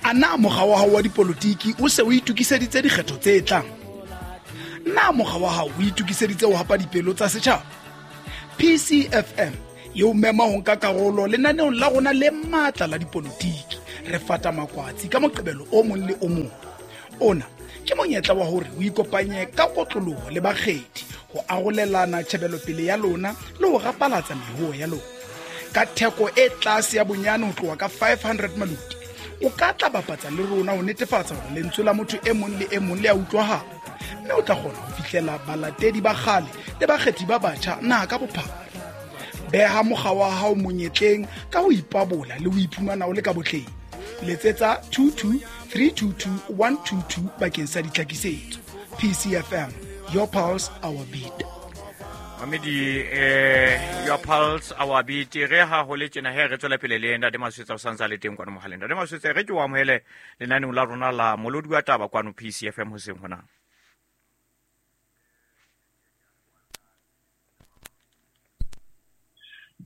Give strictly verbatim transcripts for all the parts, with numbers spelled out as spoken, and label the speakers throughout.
Speaker 1: A na mokga wa hao wa dipolotiki o se o itokiseditse dikgetho tse tlang? Na mokga wa hao o itokiseditse ho hapa dipelo tsa setjhaba? P C F M e o mema ho nka karolo lenaneong la rona le matla la dipolotiki. Re fata makwatsi ka Moqebelo o mong le o mong. Ona ke monyetla wa hore o ikopanye ka kotloloho le bakgethi ho arolelana tjhebelopele ya lona le ho rapalatsa mehoo ya lona. Ka theko e tlase ya bonyane ho tloha ka five hundred maluti, o ka tla bapatsa le rona ho netefatsa hore lentswe la motho e mong le e mong le a utlwahala, mme o tla kgona ho fihlela balatedi ba kgale le bakgethi ba batjha naha ka bophara. Beha mokga wa hao monyetleng ka ho ipabola le ho iphumana o le ka botleng. Letsetsa two two three two two one two two bakeng sa ditlhakisetso. P C F M, your pulse, our beat.
Speaker 2: Mamedi, eh, your pulse, our beat. Re ha ho le tjena he re tswela pele le Ntate Maswetsa o santsa le teng kwano mohaleng. Ntate Maswetsa, re ke o amohele lenaneong la rona la Molodi wa Taba kwano P C F M hoseng hona.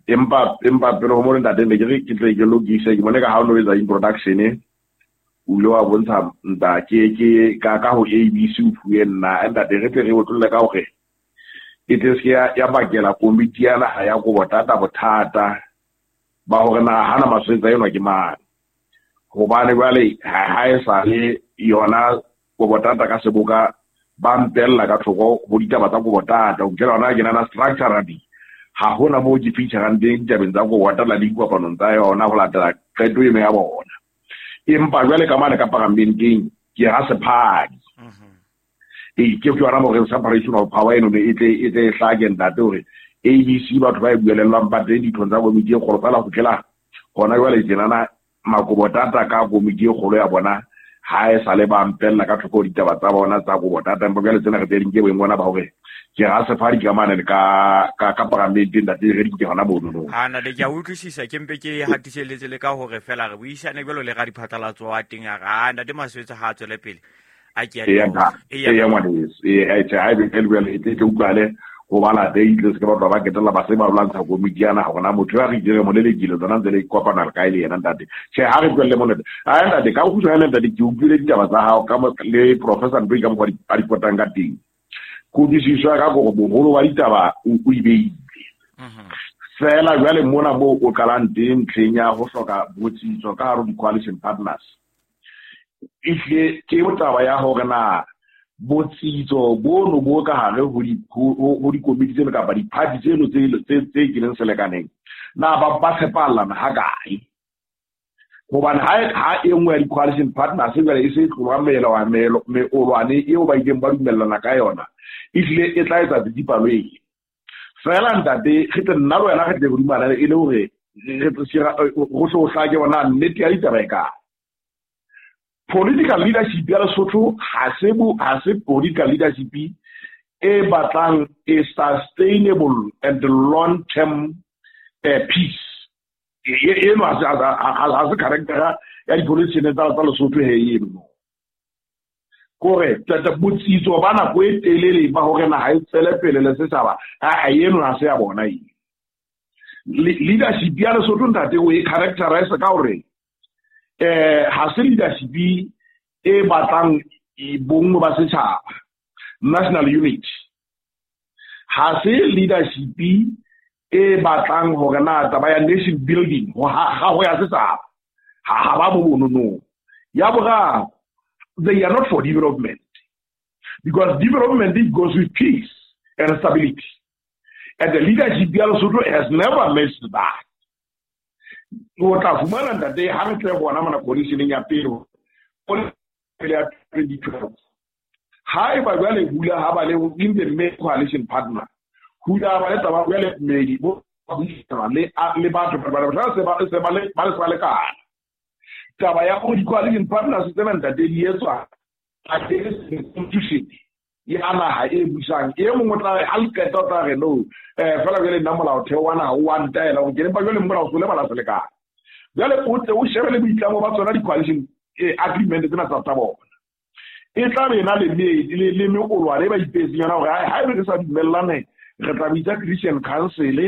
Speaker 3: Empa empa pele ho mo ntate ne ke re ke tle ke lokise ke bone ka ha o no etsa introduction o ile wa bontsha nta ke ke ka ka ho A B C o fuwe nna ntate re tle re otlolle ka hore e tle se ya ya bakela komiti ya naha ya Kobotata bothata ba hore na hana Maswetsa enwa ke mang, hobane jwale ha e sa le yona Kobotata ka seboka ba mpella ka thoko ho ditaba tsa Kobotata ho kela hona ke nana structurally ha hona moo ke feature-ang teng ditabeng tsa Kobotata le dikopanong tsa yona ho latela qeto eno ya bona. Empa jwale ka mane ka paramenteng ke ha sephadi. E ke ke yona mo re separation of power eno e tle e tle e hlake ntate hore A B C batho ba e buelellang ba teng dithong tsa komiti e kgolo fela ho fihlela hona jwale tjenana Makobotata ka komiti e kgolo ya bona ha e sa le ba mpella ka thoko ditaba tsa bona tsa Kobotata. Empa jwale tsena re tse ding ke boemo bona ba hore ke ha sephadi ka mane le ka ka ka paramenteng ntate re di ke hona mono no.
Speaker 2: Ha na le ke a utlwisisa ke mpe ke hatiseletse le ka hore fela re buisane jwalo le radiphatlalatso wa teng a re a ntate Maswetsa ha a tswele pele. A ke a
Speaker 3: e ya ngwaneso e ha e ha e be e tle utlwale ho bala teng tle se ke batho ba ketella ba se ba lwantsha komiti yana hore na motho ya re dire mo lelekile tsona ntse le kopana le kae le yena ntate. Tjhe ha re tswelle mo ntate. Ha ntate ka ho kgutshwane ntate ke utlwile ditaba tsa hao ka le Professor Ntoi ka mokgwa a di potang ka teng. Kutlwisiso ya ka gore boholo ba ditaba o o ibeile. Fela jwale mona moo o qalang teng ntlheng ya ho hloka botsitso ka hare ho di-coalition partners. Ehlile ke taba ya hore na botsitso bono bo ka hare ho di ho dikomiti tseno kapa di-party tseno tse tse tse keneng selekaneng na ba ba tshepalana ha kae, hobane ha ha e nngwe ya di-coalition partners jwale e se tloha melao meolwane eo ba ileng ba dumellana ka yona ehlile e tla etsa tsitsipalo eo. Fela ntate re tle nna le wena re tle re dumellane e le hore re go tle ho hlake bona nnete ya ditaba e kae. Political leadership ya Lesotho ha se bo ha se political leadership e batlang a sustainable and long term uh, peace. Eno ha se ha se character ya dipolitician tsa tsa Lesotho he eno. Kore tata botsitso ba nako e telele ba hore naha e tswele pele le setjhaba ha eno ha se ya bona eo. Leadership ya Lesotho ntate o e characterize ka hore eh ha se leadership e batlang bonngwe ba setjhaba, national unity. Ha se leadership e batlang hore na taba ya nation building ho ha ho ya setjhaba ha ha ba bo no. Ya boraro, they are not for development because development it goes with peace and stability, and the leadership ya Lesotho has never missed that. O tla fumana ntate ha re tle bona mona coalition ya pele pele ya twenty twelve ha e ba jwale hula ha ba le in the main coalition partner hula ba le taba jwale mmedi bo buisana le le batho ba ba se ba se ba le ba le ba le ka taba ya go di coalition partners tsena ntate di etswa a constitution ya naha e busang e mongwe tla ha le qeta o tla re no eh fela jwale nna molaotheo wa naha o wa ntaela hore ke empa jwale molao o le bala selekane. Jwale o tle o shebe le boitlamo ba tsona di-coalition agreement tsena tsa tsa bona e tla be na le le le meolwane e ba ipetseng yona hore ha ebe re sa dumellane re tla bitsa Christian Council,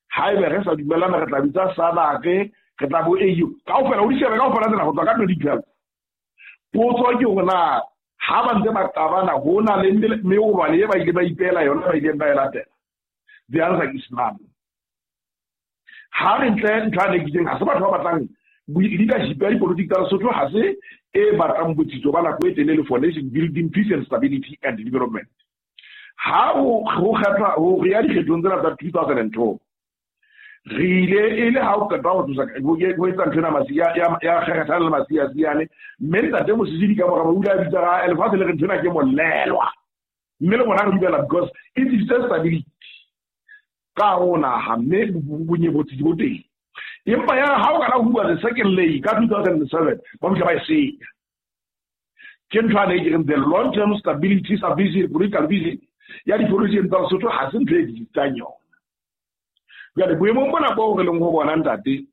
Speaker 3: ha ebe re sa dumellane re tla bitsa S A D C, re tla bo A U kaofela o di shebe kaofela tsena ho tswa ka twenty twelve. Potso ke hore na ha ba ntse ba qabana ho na le meolwane e ba ile ba ipeela yona ba ileng ba e latela. The answer is none. Ha re ntle ntho a ne ke ha se batho ba batlang leadership ya dipolotiki tsa Lesotho, ha se e batlang botsitso ba nako e telele for nation building, peace and stability and development. Ha ho kgethwa ho re ya dikgethong tsena tsa two thousand and two, re ile e le ha o qeta ho tlosa ho etsa ntho ena Masia ya ya kgethana le Masia Siane, mme ntate Mosisili ka mora o ile a bitsa ga lefatshe le re ntho ena ke molelwa, mme le bona re dumela because it is stability ka ho naha, mme bonye botsitso bo teng. Empa ya ha o kana ho bua the second lay ka two thousand and seven ba motla ba e senya. Ke ntho ane ke reng the long term stability vision, political vision ya dipolotiki tsa Lesotho ha se ntho e ditsang yona. Jwale boemong bona bo re leng ho bona ntate,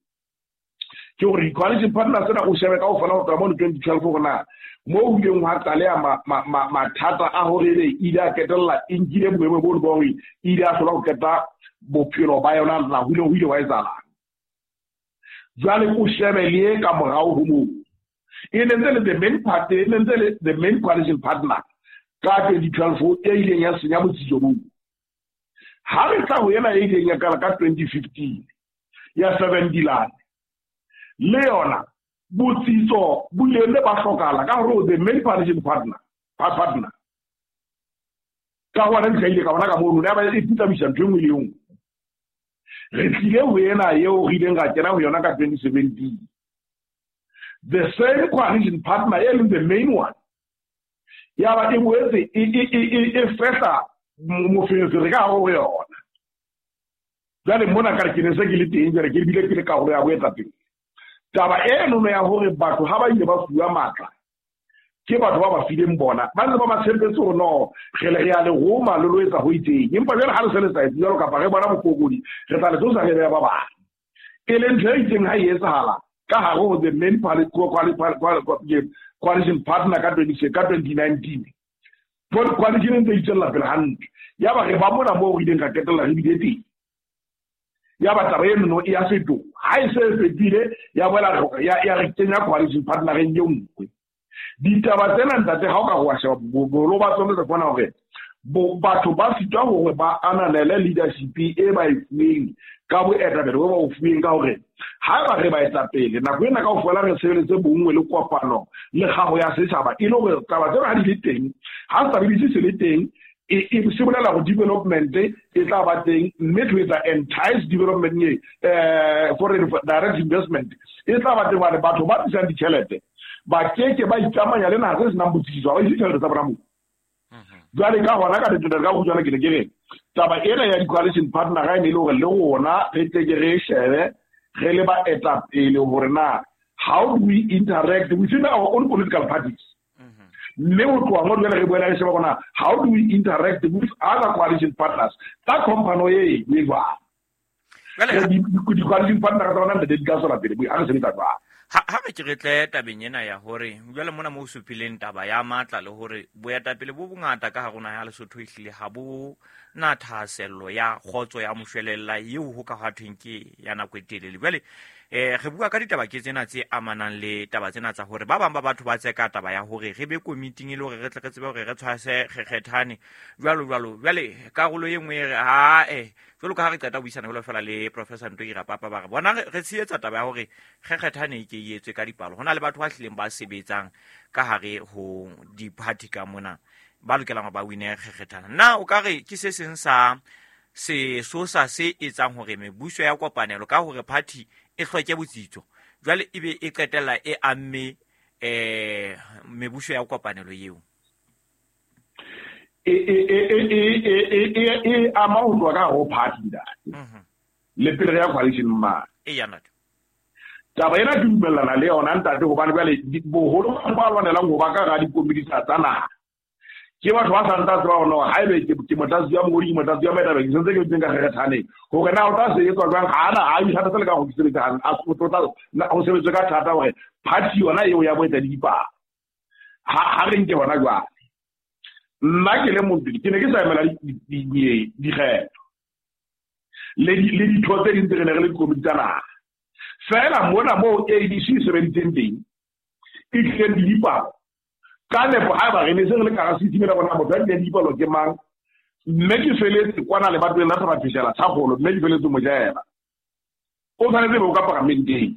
Speaker 3: ke hore coalition partners tsena o shebe kaofela ho tloha mono twenty twelve hore na moo ho ileng hwa tlaleha mathata a hore ebe ile a ketella e nkile boemo bo bo hore ile a hlola ho qeta bophelo ba yona na ho ile ho ile wa etsahalang. Jwale o shebe le ka morao ho moo e ne ntse le the main party, e ne ntse le the main coalition partner ka twenty twelve e ileng ya senya botsitso boo. Ha re tla ho ena e ileng ya qala ka twenty fifteen ya seven Dilane, le yona botsitso bo ile ba hlokahala ka hore the main coalition partner partner ka hona ntlha ile ka bona ka mono ne ba e putlamisa ntho e nngwe le e nngwe. Re tlile ho ena eo re ileng ra kena ho yona ka twenty seventeen, the same coalition partner e leng the main one ya ba e boetse e e fehla moferefere ka hare ho yona. Jwale mona ka re ke ne se ke le teng, jwale ke bile ke le karolo ya boetapele. Taba eno ya hore batho ha ba ile ba fuwa matla ke batho ba ba fileng bona, ba ntse ba ba tshepetse hore no re le re a le roma le lo etsa ho itseng, empa jwale ha re se le sa etse jwalo kapa re bona bofokodi re tla le tlosa re beha ba bang. E leng ntho e itseng ha e etsahala ka hare ho the main coalition partner ka twenty nineteen, coalition e ntse e itswella pele hantle. Ya ba re ba mona moo re ileng ra qetella re bile teng, ya ba taba eno e ya fetoha. Ha e se e fetohile ya boela ya re kenya coalition partnereng e nngwe. Ditaba tsena ntate ha o ka wa sheba boholo ba tsona re bona hore batho ba sitwa hore ba ananele leadership e ba e fuweng ka boetapele bo ba o fuweng, ka hore ha ba re baetapele nako ena kaofela re sebeletse bonngwe le kopano le kgaho ya setjhaba, e le hore taba tsena ha di le teng, ha stability se le teng, e se bolela hore development e tla ba teng, mme to etsa entice development e foreign direct investment e tla ba teng, hobane batho ba tlisang ditjhelete ba keke ba ikamanya le naha tse senang botsitso, ha ba ise ditjhelete tsa bona moo. Jwale ka hona ka letona ka kgutshwane ke ne ke re taba ena ya di-coalition partner ga e ne e le hore le rona re tle ke re shebe re le baetapele hore na how do we interact within our own political parties, mme ho tloha moo jwale re boela re sheba hore na how do we interact with other coalition partners ka kompano e e jwang. Di-coalition partner tsa rona ntate di ka tswela pele ha re sebetsa jwang.
Speaker 2: Ha re ke re tle tabeng ena ya hore jwale mona mo supileng taba ya matla le hore boetapele bo bongata ka hare ho naha ya Lesotho ehlile ha bo na thahasello ya kgotso ya moshwelella eo ho ka thweng ke ya nako e telele. Jwale eh re bua ka ditaba ke tsena tse amanang le taba tsena tsa hore ba bang ba batho ba tseka taba ya hore re be komiting e le hore re tle re tsebe hore re tshwase kgekgethane jwalo jwalo. Jwale karolo e nngwe e re ha eh jwalo ka ha re qeta buisana jwalo fela le Professor Ntoi Rapapa ba re bona re tshehetsa taba ya hore kgekgethane e ke e etswe ka dipalo. Ho na le batho ba hlileng ba sebetsang ka hare ho di-party ka mona ba lokelang ba wine kgekgethana. Na o ka re ke se seng sa sesosa se etsang hore mebuso ya kopanelo ka hore party e hloke botsitso jwale ebe e qetella e amme eh mebuso ya kopanelo eo?
Speaker 3: E e e e e e ama ho tloha ka ho party ntate le pele ya coalition ma
Speaker 2: e ya ntate.
Speaker 3: Taba ena ke dumellana le yona ntate, hobane jwale boholo ba lwanelang ho ba ka hara dikomiti tsa naha ke batho ba sa ntse ba bona ha ebe ke motlatsi wa mongodi, ke motlatsi wa moetapele, ke sentse ke teng ka kgekgethane hore na o tla se etswa jwang. Ha ana ha ithatse le ka ho sebetsa a ho sebetswe ka thata hore party yona eo ya boetadipalo ha ha re nke hona jwale. Nna ke le motho ke ne ke sa emela dikgetho le le ditho tse ding tse re ne re le dikomiti tsa naha fela mona moo A D C e sebeditseng teng e tlileng le dipalo Ka nepo ha ba re ne se re le ka ga system ena bona motho a dileng dipalo ke mang, mme ke feletse kwana lebatoweng la Thaba Thakgolo, mme ke feletse Mojela. O tshwanetse be o ka paramenteng.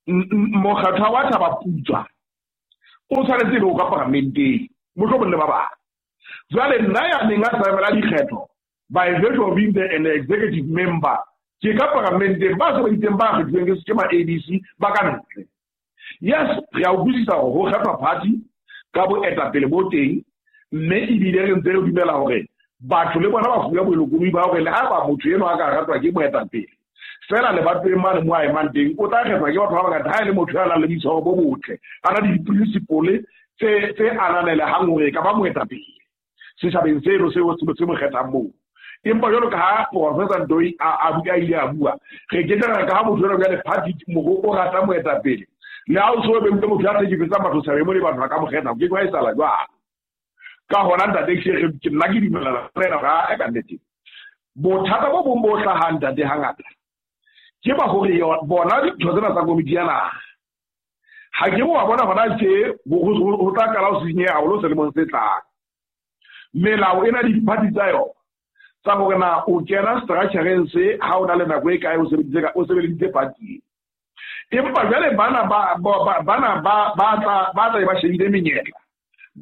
Speaker 3: Mokgatho wa Thaba Putswa o tshwanetse be o ka paramenteng, mohlomong le ba bang. Jwale nna ya neng a sa emela dikgetho by virtue of being the, an executive member, ke ka paramenteng, ba sebeditseng ba kgethilweng ke ma A D C ba ka ntle. Yes, re a utlwisisa hore ho kgethwa party ka boetapele bo teng, mme ebile re ntse re dumela hore batho le bona ba fuwa bolokolohi ba hore le ha ba motho enwa a ka ratwa ke moetapele, fela lebatoweng mane mo a emang teng o tla kgethwa ke batho ba bangata. Ha e le motho ya nang le boitshwaro bo botle, a na le di-principle tse tse ananelehang hore e ka ba moetapele setjhabeng seno seo se mo kgethang moo. Empa jwalo ka ha Professor Ndoi a a ile a bua, re ke tla ka ha motho enwa jwale party mo o rata moetapele, le ha o so be motho ya hlekefetsang batho setjhabeng mo le batho ba ka mo kgetha, ke kwa e sala jwang. Ka hona ntate ke nna ke dumellana le yena ha e ka nnete. Bothata bo bong bo hlahang ntate hangata ke ba hore bona dintho tsena tsa komiti ya naha, ha ke wa bona hona tje ho tla qala ho senyeha haholo selemong se tlang. Melao ena le diphathi tsa yona tsa hore na o kena structure-eng se ha o na le nako e kae o sebeditse o sebeleditse party. Empa jwale bana ba bana ba ba tla ba tla ba shebile menyetla,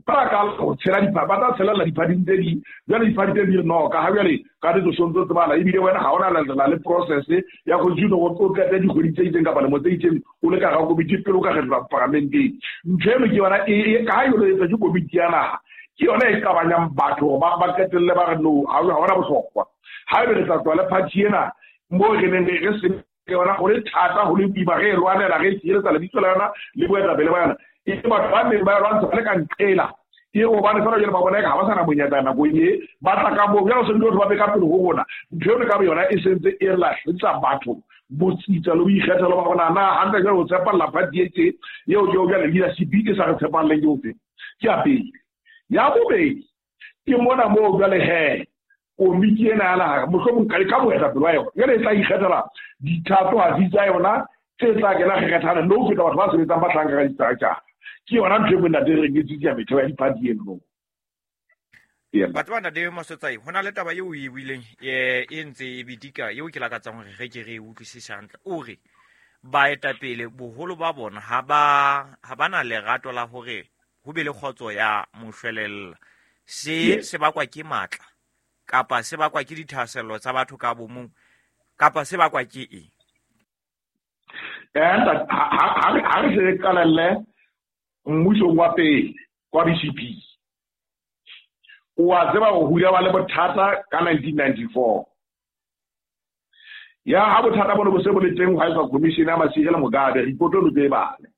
Speaker 3: ba ka ho tshela dipa ba tla tshela diphathi tse ding. Jwale diphathi tse ding no ka ha jwale ka ditso sontso tse bala, ebile wena ha ona la le process ya go juno o qete dikgwedi tse itseng kapa lemo tse itseng o le ka ga komiti pele o ka kgethwa paramenteng. Ntho eno ke yona e ka ha yona e etsa ke komiti ya naha, ke yona e qabanyang batho ba ba qetelle ba re no ha hona bohlokwa. Ha ebe re tla tswa le party ena mo re neng re se yona go le thata go le boima re e lwanela re tshireletsa lebitso la yona le boetapele ba yona, e batho ba neng ba lwantsha ba le ka nqela ke hobane fela jwale ba bona eka ha ba sa na monyetla nakong e ba tla ka moo jwale o se ba be ka pele ho rona. Ntho eno ka bo yona e sentse e lahletsa batho botsitsa le boikgethelo ba bona na hantle jwale o tshepalla party e tje eo ke jwale leadership e sa re tshepalleng ke ofe. Ke ya pele. Ya bobedi ke mona moo jwale he komiti ena ya naha mohlomong ka ka moetapele wa yona jwale e tla ikgethela dithatohatsi tsa yona tse tla kena kgethana le ho feta batho ba sebetsang ba hlanka ka di-structure. Ke yona ntho e mo ntate re nketse ya metheo ya diphathi eno.
Speaker 2: Batho ba ntate Masotsai, ho na le taba eo o e buileng e ntse e bedika eo ke lakatsang hore re ke re e utlwisise hantle. O re baetapele boholo ba bona ha ba ha ba na lerato la hore ho be le kgotso ya moshwelella. Se se bakwa ke matla kapa se bakwa ke dithahasello tsa batho ka bomong kapa se bakwa ke eng?
Speaker 3: Eh ha ha re se qalelle mmusong wa pele kwa B C P, o a tseba ho hula ba le bothata ka nineteen ninety-four. Ya ha bothata bona bo se bo le teng ho etswa commission ya Masire le Mugabe, report lo tse bale.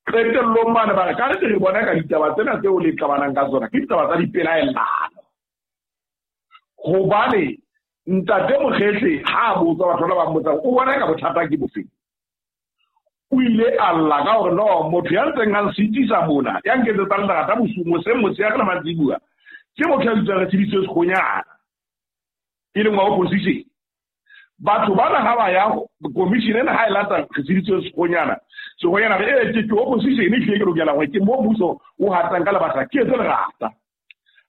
Speaker 3: Qetellong mane ba re ka re re bona ka ditaba tsena tseo le qabanang ka tsona ke ditaba tsa dipelaellano. Hobane ntate Mokgetle ha a botsa batho ba ba mmotsang, o bona ka bothata ke bofeng? O ile a lla ka hore no motho ya ntseng a nsitisa mona ya nketsetsang lerata bosiu moseng motshehare le mantsibuya ke motho ya bitswang Retshidiswe Sekgonyana, e leng wa opposition. Batho bana ha ba ya commission ena ha e lata Retshidiswe Sekgonyana, Sekgonyana re e ke opposition e hlile ke lokela hore ke mo mmuso o hatang ka lebaka ke etse lerata.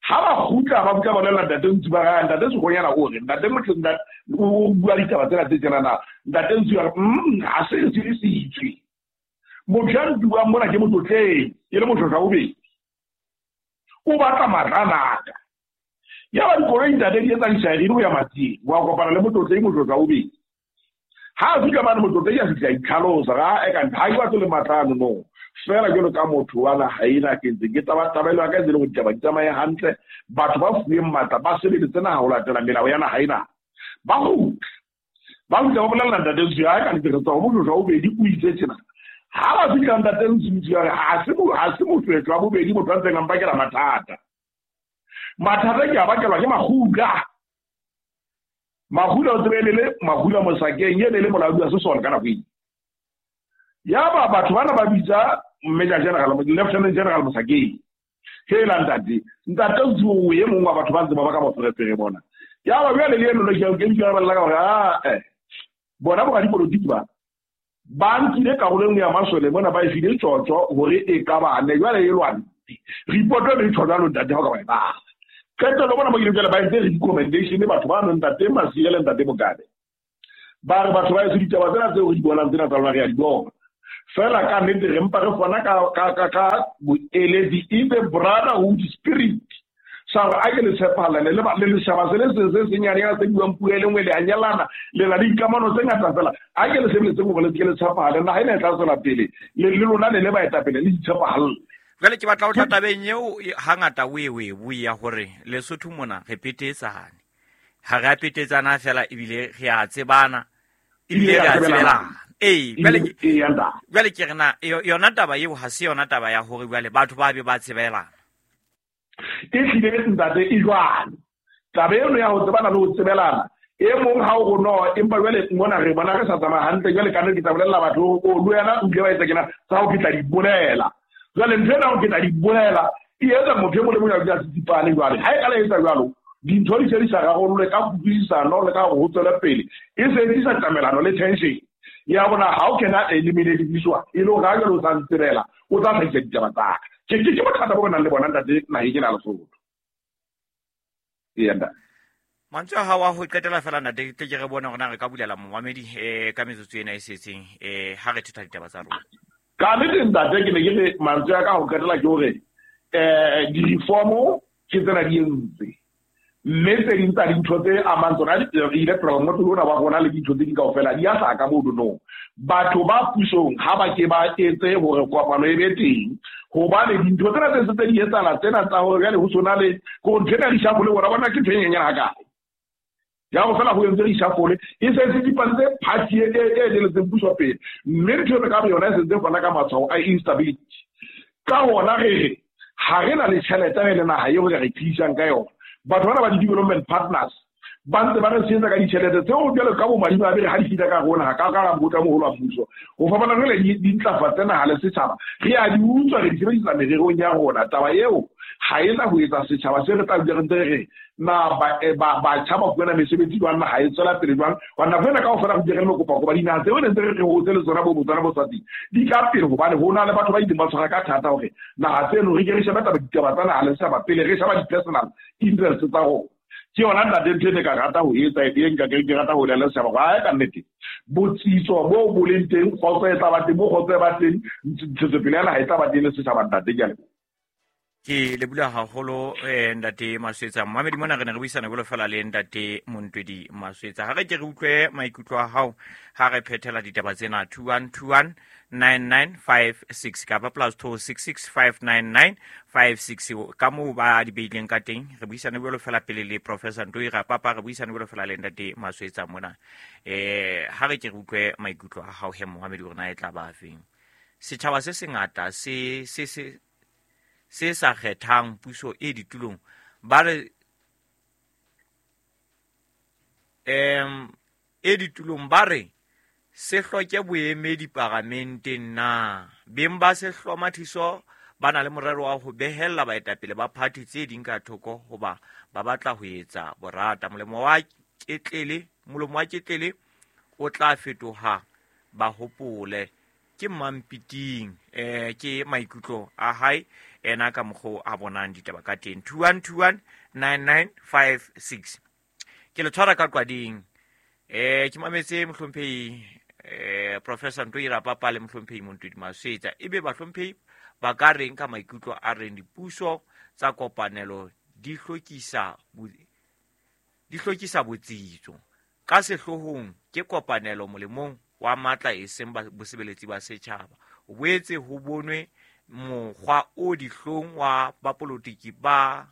Speaker 3: Ha ba kgutla ba butla bolella ntate Ntsu ba re ntate Sekgonyana o re ntate motho ntate o bua ditaba tsena tse tjena na ntate Ntsu a re mm ha se re tsebisitswe. Motho ya ntuang mona ke motlotleng e le motho wa bobedi, o batla matla. Ya ba dikoloi ntate di etsa disaerine ho ya Matsieng, wa kopana le motlotleng motho wa bobedi. Ha a fihla mane motlotleng a fihla itlhalosa ga e ka ha ke batle le matla ano no. Fela jwalo ka motho wa naha ena ke ntse ke tabatabelo ya ka e le hore ditaba di tsamaye hantle, batho ba fuweng matla ba sebeletse naha ho latela melao ya naha ena. Ba kgutla ba kgutla ba bolella ntate Ntsu ya ka nnete re tswa ho motho wa bobedi o itse tjena. Ha ba fihla ntate Ntsu ya re ha se ha se motho wa bobedi motho a ntseng a mpakela mathata. Mathata ke a bakelwa ke Makgula. Makgula o tsebe le Makgula Mosakeng e ne le molaodi wa sesole ka nako eo. Ya ba batho bana ba bitsa Major General, Lieutenant General Mosakeng. Hela ntate, ntate Ntsu o e mong wa batho ba ntse ba baka moferefere bona. Ya ba jwale le eno le ke ke ikarabella ka hore ah eh bona bo dipolotiki ba Ba nkile karolo e nngwe ya masole mona ba e file tjotjo hore e ka ba ne jwale e lwane. Report e tjho jwalo ntate ha o ka ba e bala. Qetello bona ba ile jwale ba entse recommendation batho ba nang ntate Masiye le ntate Mugabe. Ba re batho ba etsa ditaba tsena tseo re di bonang tsena tsa rona re a di bona. Fela ka nnete re mpa re fana ka ka ka ka boeletsi in the brotherhood spirit. Sa hore a ke le tshepahalane le le leshaba se le seng se senyanenyana se buang puo e le nngwe le a nyalana le na le dikamano tse ngata fela. A ke le sebeletseng hore le se ke le tshepahale, naha ena e tla tswela pele le le lona le le baetapele le itshepahalle.
Speaker 2: Jwale ke batla ho tla tabeng eo hangata o e o e bue ya hore Lesotho mona re petetsane. Ha re a petetsana fela ebile re a tsebana ebile re a tsebelana. Ee, jwale ke jwale ke re na yona taba eo ha se yona taba ya hore jwale batho ba be ba tsebelana.
Speaker 3: E hlile ntate e jwalo. Taba eno ya ho tsebana le ho tsebelana e mong ha o no empa jwale mona re bona re sa tsamaya hantle jwale ka nnete ke tla bolella batho o le wena o ile wa etsa kena tsa ho ke tla di bolela. Jwale ntho ena ho ke tla di bolela e etsa motho e mong le mong a tsitsipane jwale. Ha e ka la etsa jwalo dintho di se di sa rarollwe ka kutlwisisano le ka hore ho tswele pele e se e tlisa tamelano le tension. Ya bona ha o kena eliminate diswa e le hore ha jwale o sa ntsebela o tla hlahisa ditaba tsa ka. Ke ke ke bothata bo nang le bona ntate naheng ena ya Lesotho. Ee ntate.
Speaker 2: Mantswe a hao a ho qetela fela ntate tle ke re bone hore na re ka bulela momamedi eh ka metsotso ena e setseng eh ha re thetha ditaba tsa rona.
Speaker 3: Ka nnete ntate ke ne ke re mantswe a ka ho qetela ke hore eh di-reform ke tsena di entse. Mme tse ding tsa dintho tse amang tsona electoral motho ona wa rona le dintho tse ding kaofela di a hlaka mono no. Batho ba pusong ha ba ke ba etse hore kopano e be teng hobane dintho tsena tse se di etsahala tsena tsa hore jwale ho sona le ko ntho ena reshuffle hore bona ke ntho e nyenyane hakae. Ya ho fela ho entse reshuffle e se se dipantse party e e eteletseng puso pele mme ntho e ka yona e sentse fana ka matshwao a instability. Ka hona re re ha re na le tjhelete re le naha eo re re tiisang ka yona. Batho bana ba di-development partners ba ntse ba re tshehetsa ka ditjhelete tseo jwalo ka bomadimabe re ha di fihla ka rona ha ka ka mokotla moholo wa mmuso. Ho fapana jwale di di ntlafatse naha le setjhaba re a di utswa re di sebedisa mererong ya rona. Taba eo ha e na ho etsa setjhaba se re tla dula re ntse re re na ba ba batjha ba fumana mesebetsi jwang, naha e tswela pele jwang. Hobane nako ena kaofela re dule re lo kopa kopa dinaha tseo ne ntse re re hotse le tsona bo Botswana bo Eswatini di ka pele hobane ho na le batho ba ileng ba tshwara ka thata hore naha tseno re ke re shebe taba ditaba tsa naha le setjhaba pele re sheba di-personal interest tsa rona. Ke yona ntate ntho e ne ka rata ho etsa e nka ke rata ho lela setjhaba hore ha e ka nnete botsitso bo bo leng teng kgotso e tla ba teng bo kgotso e ba teng ntshetsopele ya naha e tla ba teng le setjhaba ntate ke a leboha.
Speaker 2: Ke leboha haholo eh ntate Maswetsa. Momamedi mona re ne re buisana jwalo fela le ntate Montwedi Maswetsa. Ha re ke re utlwe maikutlo a hao ha re phethela ditaba tsena two one two one nine nine five six kapa plus two six six five nine nine five six ka moo ba di beileng ka teng. Re buisana jwalo fela pele le Professor Ntoi Rapapa, re buisana jwalo fela le ntate Maswetsa mona. Eh ha re ke re utlwe maikutlo a hao he momamedi hore na e tla ba afeng. Setjhaba se sengata se se se se sa kgethang puso e ditulong ba re em e ditulong ba re se hloke boemedi paramenteng na beng ba se hlomathiso ba na le morero wa ho behella baetapele ba party tse ding ka thoko hoba ba batla ho etsa borata. Molemo wa ketlele molomo wa ketlele o tla fetoha ba hopole ke Mampiting. Eh ke maikutlo a hae ena ka mokgo a bonang ditaba ka teng. Two one two one nine nine five six. Ke le tshwara ka qwading. Eh ke mametse mohlomphehi eh Professor Ntoi Rapapa le mohlomphehi Montwedi Maswetsa. Ebe bahlomphehi ba ka reng ka maikutlo a reng dipuso tsa kopanelo di hlokisa di hlokisa botsitso ka sehloohong ke kopanelo molemong wa matla e seng bosebeletsi ba setjhaba. O boetse ho bonwe mokgwa o dihlong wa bapolotiki ba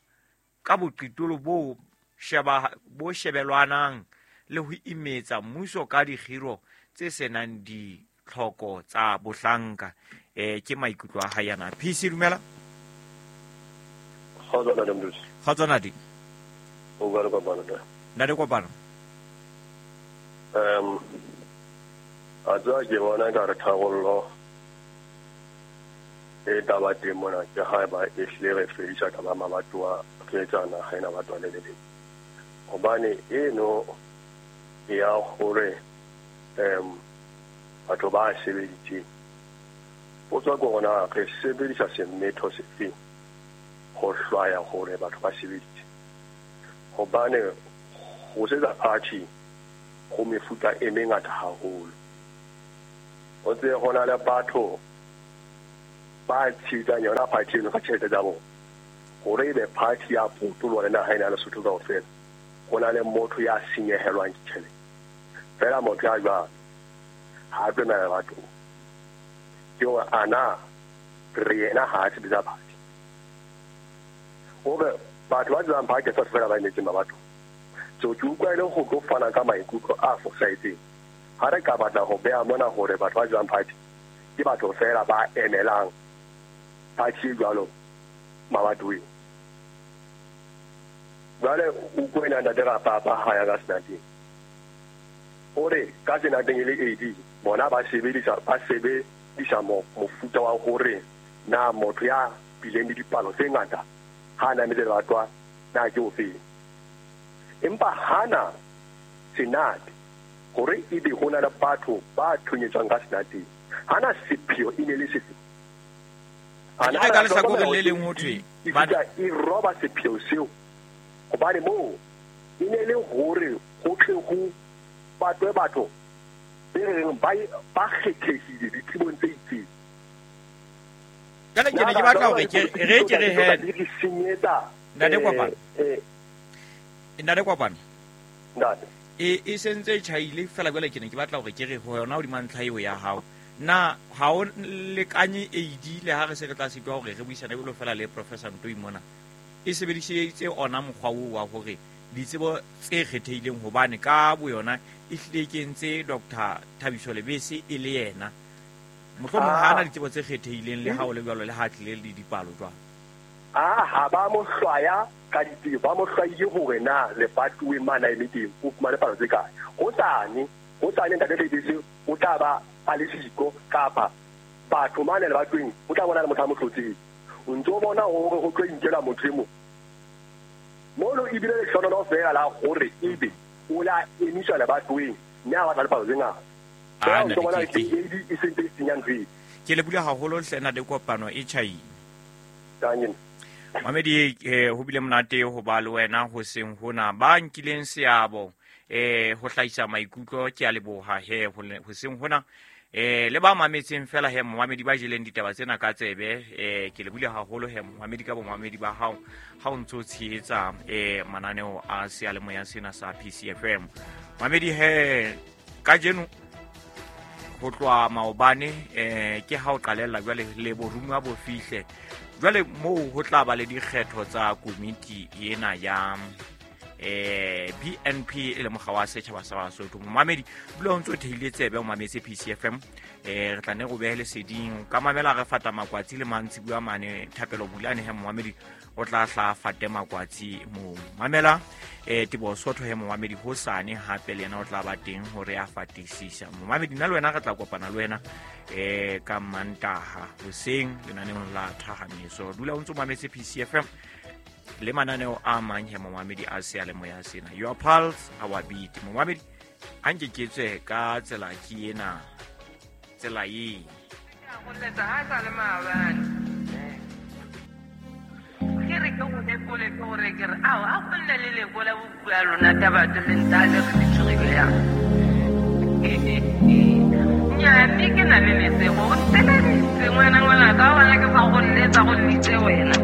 Speaker 2: ka boqitolo bo sheba bo shebelwanang le ho imetsa mmuso ka dikgiro tse senang ditlhoko tsa bohlanka. Eh ke maikutlo a hae ana. P C dumela.
Speaker 4: Kgotso ntate Mdusi.
Speaker 2: Kgotso ntate.
Speaker 4: O bua le Kopano ntate.
Speaker 2: Ntate Kopano.
Speaker 4: Um a tswa ke bona ka re tharollo e taba teng mona ke haeba e hlile re fedisa taba ya mabatowa re etsa naha ena batho le le leng. Hobane eno ya hore um Batho ba sebeditseng. Potso ke hore na re sebedisa semetho sefe ho hlwaya hore batho ba sebeditse. Hobane ho sebetsa party ho mefuta e mengata haholo. O tsebe ho na le batho ba tshehetsang yona party eno ka tjhelete tsa bona. Hore ebe party ya potoloha le naha ena ya Lesotho kaofela, ho na le motho ya senyehelwang ke tjhelete. Feela motho ya jwalo ha a tlo emela lebatong. Ke hore ana re yena ha a sebetsa party. Hore batho ba tsebang party ha se feela ba emetseng mabatong. So ke utlwa e le ho tlo fana ka maikutlo a fosahetseng. Ha re ka batla ho beha mona hore batho ba tsebang party ke batho feela ba emelang party e jwalo mabatoweng. Jwale o kwena ntate Rapapa ha ya ka Senateng. Hore ka Senateng e le A D, bona ba sebedisa ba sebedisa mofuta wa hore na motho ya bileng le dipalo tse ngata ha na metse lebatwa na ke ofeng. Empa hana Senate hore ebe ho na le batho ba thunyetswang ka Senateng. Hana sepheo e ne le sefe.
Speaker 2: Ana ka lehlakoreng le leng ho thwe
Speaker 4: ba e roba sepheo seo. Hobane moo e ne le hore ho tle ho batwe batho be reng ba ba kgethehile ditsebong tse itseng.
Speaker 2: Jwale ke ne ke batla hore ke re ke re he
Speaker 4: re senyetsa
Speaker 2: Ntate Kopano. Ntate Kopano.
Speaker 4: Ntate.
Speaker 2: E e sentse e tjhaile fela jwale ke ne ke batla hore ke re ho yona hodima ntlha eo ya hao. Na ha o lekanye A D le ha re se re tla sitwa hore re buisane jwalo fela le Professor Ntoi mona. E sebedisitse ona mokgwa oo wa hore ditsebo tse kgethehileng hobane ka boyona e hlile ke entse Doctor Thabiso Lebese e le yena. Mohlomong ha ana ditsebo tse kgethehileng le ha o le jwalo le ha tlile le dipalo jwalo.
Speaker 4: Ah, ha ba mo hlwaya ka ditsebo, ba mo hlwaile hore na lebatoweng mane a eme teng o fumane palo tse kae. Hosane, hosane ntate Lebese o tla ba a le siko kapa batho mane lebatoweng o tla bona le motho a mo hlotseng. O ntso bona hore ho tlo inkela motho e mong. Mono ebile lehlohonolo feela la hore ebe o la emiswa lebatoweng mme a batla le palo tse ngata.
Speaker 2: Ah,
Speaker 4: O ntso bona ke A D e sentse e senya ntho eo.
Speaker 2: Ke lebohile haholo hle ntate Kopano e tjhaile.
Speaker 4: Tanki.
Speaker 2: Mamedi eh ho bile monate ho ba le wena hoseng hona ba nkileng seabo eh ho hlahisa maikutlo ke a leboha he hoseng hona eh le ba mametseng fela he momamedi ba jeleng ditaba tsena ka tsebe eh ke lebohile haholo he momamedi ka bomamedi ba hao ha o ntso tshehetsa eh mananeo a seyalemoya sena sa P C F M. Mamedi he kajeno ho tloha maobane eh ke ha o qalella jwale le borumuwa bo fihle jwale moo ho tla ba le dikgetho tsa komiti ena ya eh B N P e le mokga wa setjhaba sa Basotho. Momamedi dula o ntso theile tsebe o mametse P C F M eh re tla ne go behe leseding ka mamela re fata makwatsi le mantsibuya mane Thapelo Bulane he momamedi o tla hla fate makwatsi mo mamela eh Teboho Sotho he momamedi hosane hape le yena o tla ba teng hore a fatisisa. Momamedi nna le wena re tla kopana le wena eh ka Mantaha hoseng lenaneong la Thahameso. Dula o ntso mametse P C F M le mananeo a mang he momamedi a seyalemoya sena. Your pulse, our beat. Momamedi ha nke ke tswe ka tsela ke ena tsela e
Speaker 5: go letsa ha sa le maabane ke re ke go lekole ke gore ke re ao a go nne le lekola bopua lona taba le ntale re le tshogile yang nnyaa mme ke na le lesego o nteleditse ngwana ngwana ka bona ke fa go nletsa go nnitse wena.